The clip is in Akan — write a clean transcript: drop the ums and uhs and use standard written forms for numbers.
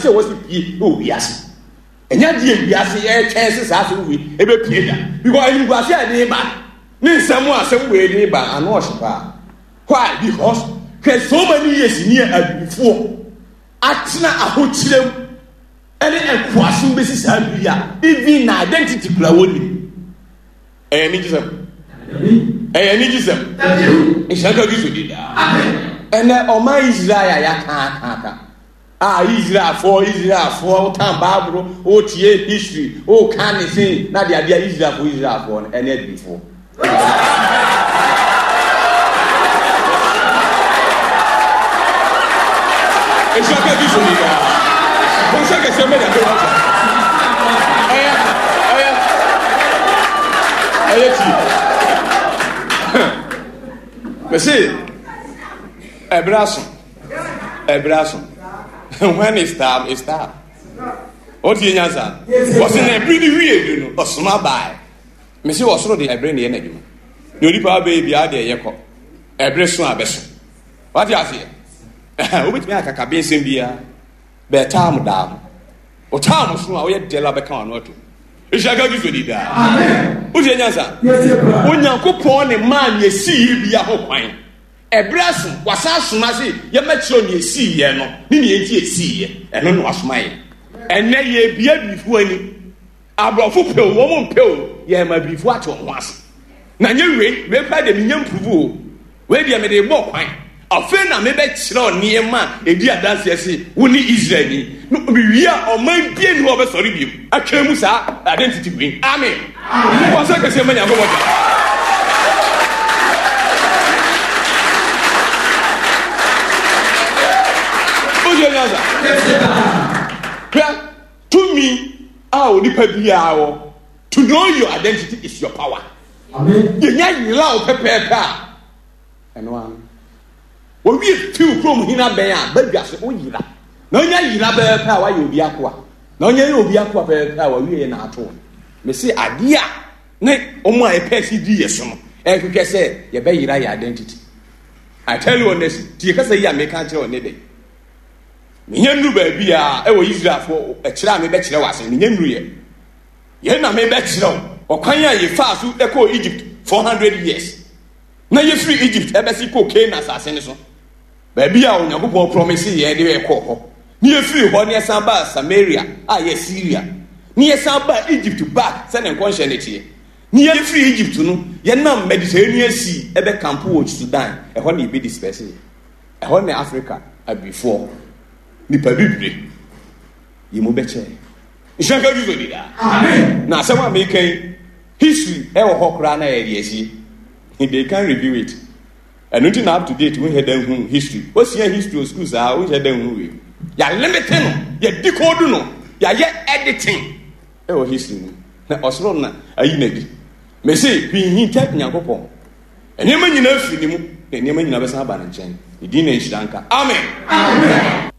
a ɛwɔ sɛ pie wɔ wiase. Ɛnyɛ adeɛ a wiase ɛretwɛn sɛ saa asɛm wei ɛbɛpie da. Because animguase a ɛde ba ne nsɛm a asɛm wei de ba ano ɔhye paa. Why? Because hwɛ so many years ni a abibifoɔ atena ahokyerɛ mu ɛne nkoasom bɛsi saa bere a even na identity kura wɔnim. Ɛyɛ anigyesɛm. Ɛyɛ anigyesɛm. Nhyira nka Kristo din daa. Ɛnɛ ɔman Israel a yɛaka aka aka a Israelfoɔ Israelfoɔ wotan Bible wotie history woka ne sen na de adeɛ Israelfoɔ Israelfoɔ no ɛne abibifoɔ. Nhyira nka Kristo din daa. Bɔnsɛ kɛseɛ mɛ nyame wɔ Ɛyɛ ɛyɛ ɛyɛ ti. Mese ɛbrɛ aso ɛbrɛ aso when is time is time. Ɔtie nyansa. Wɔsi na ɛbiri ni wie du no ɔsoma baae. Mese ɔsoro de ɛbere na ɛyɛ n'adwuma. Na onipa abɛyɛ biara deɛ ɛyɛ kɔ. Ɛbere so a bɛso. Wate aseɛ? Wobɛtumi ayɛ kakabensɛm biara. Bɛɛ taam daa ho. O taam so a woyɛ dɛla bɛka wano ato. Nhyira ka Kristo di daa. Wotie nyansa? Onyankopɔn ne maa nea ɛsii bia ho kwan. Ɛberɛ aso, wasan asoma se yɛmmɛkyerɛw nea ɛsiiɛ no ne nea enti ɛsiiɛ. Ɛno na wasoma yɛn. Ɛnnɛ yɛrebia abibifoɔ ani. Aborɔfo pɛ o, wɔn mpɛ o, yɛrema abibifo ate wɔn ho ase. Na nyɛ wei, wei koraa deɛ menya mpuruvu o. Wei deɛ mede rebɔ kwan. Afei na mebɛkyerɛw nneɛma a ɛdi adanseɛ se wo ne Israelni. No, mewie a, ɔman bia nni hɔ a ɔbɛsɔre biom atwa mu saa identity wei. Amen. Bɔ nsɛm kɛseɛ ma Nyankopɔn da. Wotie nyansa? Hwɛ. Tumi a onipa biara wɔ, to know your identity is your power. Yɛnya yera wo pɛpɛɛpɛ a, ɛno ano. Wɔwie fiw kurom hene abɛn a, badwa so woyera. Na onya yera pɛpɛɛpɛ a, wayɛ obi akoa. Na onya yɛ obi akoa pɛpɛɛpɛ a, wawie yɛ na ato no. Mese adeɛ a ne wɔn a yɛpɛ si di yɛ so no, ɛhwehwɛ sɛ yɛbɛyera yɛ identity. I tell you honestly, tie kasa yi a meka kyerɛ wo ne dɛ. Menya nnuru baabi a ɛwɔ Israelfoɔ ɛkyerɛ a mebɛkyerɛ wo ase. Menya nnuru yɛ. Yɛn na mebɛkyerɛ wo ɔkwan a yɛfaa so kɔɔ Egypt 400 years. Na yɛfiri Egypt ɛbɛsi kɔɔ Canaan asase no so. Baabi a Onyankopɔn promise yɛn de yɛkɔɔ hɔ. Ne yɛfiri hɔ ne yɛsan baa Samaria a yɛ Syria. Ne yɛsan baa Egypt back sɛ ne nkɔnhyɛ no teɛ. Ne yɛfiri Egypt no yɛnam Mediterranean Sea ɛbɛkampo wɔ Sudan. Ɛhɔ ne yɛbɛdisperse yɛ. Ɛhɔ ne Afrika abibifoɔ, nipa bibire, yi mu bɛkyɛɛ. Nhyira nka Kristo di daa. Amen. Na asɛm a meka yi, history ɛwɔ hɔ koraa na yɛde asie. They can review it. Ɛno nti na up to date wonhyɛ da nhu history. Wosua history wɔ school saa wonhyɛ da nhu wei. Yɛalimite no, yɛdecode no, yɛayɛ editing ɛwɔ history mu. Na ɔsoro na ayi n'adi. Mese hwee nhinta Nyankopɔn. Nneɛma nyinaa firi ne mu, na nneɛma nyinaa bɛsan aba ne nkyɛn. Ne din na nhyira nka. Amen. Amen.